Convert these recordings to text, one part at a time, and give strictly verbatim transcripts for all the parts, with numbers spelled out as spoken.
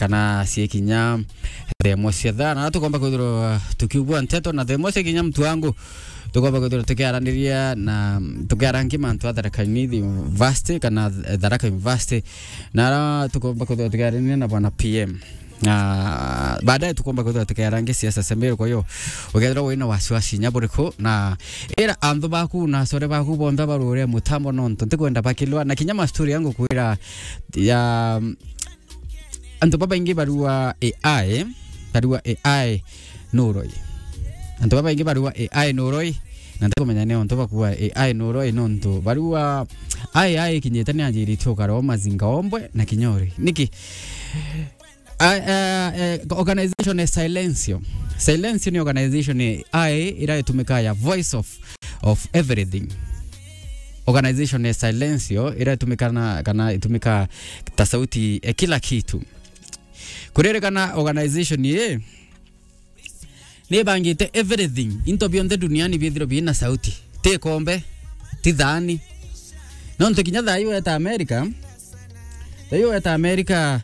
kana ciekinya thaa imwe cia thaa, na tukomba kwithirwa tukiugua nteto na thaa imwe ciekinya, mtu wangu, tukomba kwithirwa tukiaraniria na tukiarangi mantu a Tharaka Nithi University kana Tharaka University, na ara tukomba kwithirwa tukiaraniria na bwana P M. Na baadaye tukomba kwithirwa tukiarangi siasa sembere. Kwa hiyo ukethirwa wina wasiwasi nya buriku, na ira anthu baku na asore baku bonthe barure mutambo, nontu ntikwenda bakilwa na kinya mastori yangu kwira ya antu babaingi barua A I, barua A I nuroi. Antu babaingi barua A I nuroi, na ntikumenya ni ontu bakua A I nuroi, nontu barua A I ikinyite ni anjirite ukara o mazinga ombwe na kinyori. Niki? A-, eh, eh, organization ya Silencio. Silencio ni organization ya A I ira itumika ya voice of, of everything. Organization ya Silencio ira itumika na, kana itumika ta sauti ya kila kitu. Kuririkana organization ii ni ibangite everything, into bionthe duniani bithirwe bina sauti. Ti kombe, ti thani. Nontu kinya thaa ii weta America, thaa ii weta America,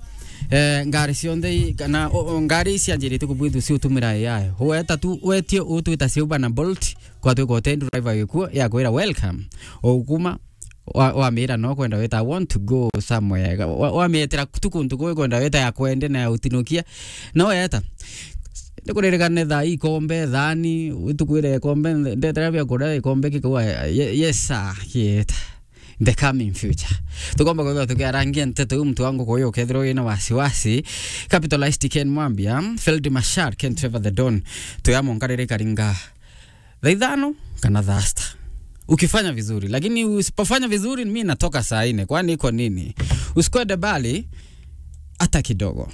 eh, ngari cionthe i-, kana, o, o, ngari ici cianjirite kubwithua ciutumira A I. Weta tu, wetie utwita cia Uber na Bolt, kwatwika utendi driver gikuo, yakwira, "Welcome." Ukuma, wa-, wamira no kwenda wita, "I want to go somewhere." Wa-, wamietera tu kuntu kwi kwenda wita ya kwende na ya utinukia. No weta. Ndikuririkane thaa ii ikombe, thani, utukwire ikombe, nde-, ndetera bia kuria ikombe kikauga, "Ye-, yes sir, kieta." The coming future. Tukomba kwithirwa tukiarangia nteto iu, mtu wangu, kwa hiyo ukethirwa wina wasiwasi. Capitalist Ken Mwambia, Field Marshal Ken Trevor the Don, tuyamonkarire karinga thaa ithano kana thaa sita. Ukifanya vizuri, lakini usipofanya vizuri, mi natoka saa nne. Kwani iko nini? Usikwende mbali hata kidogo.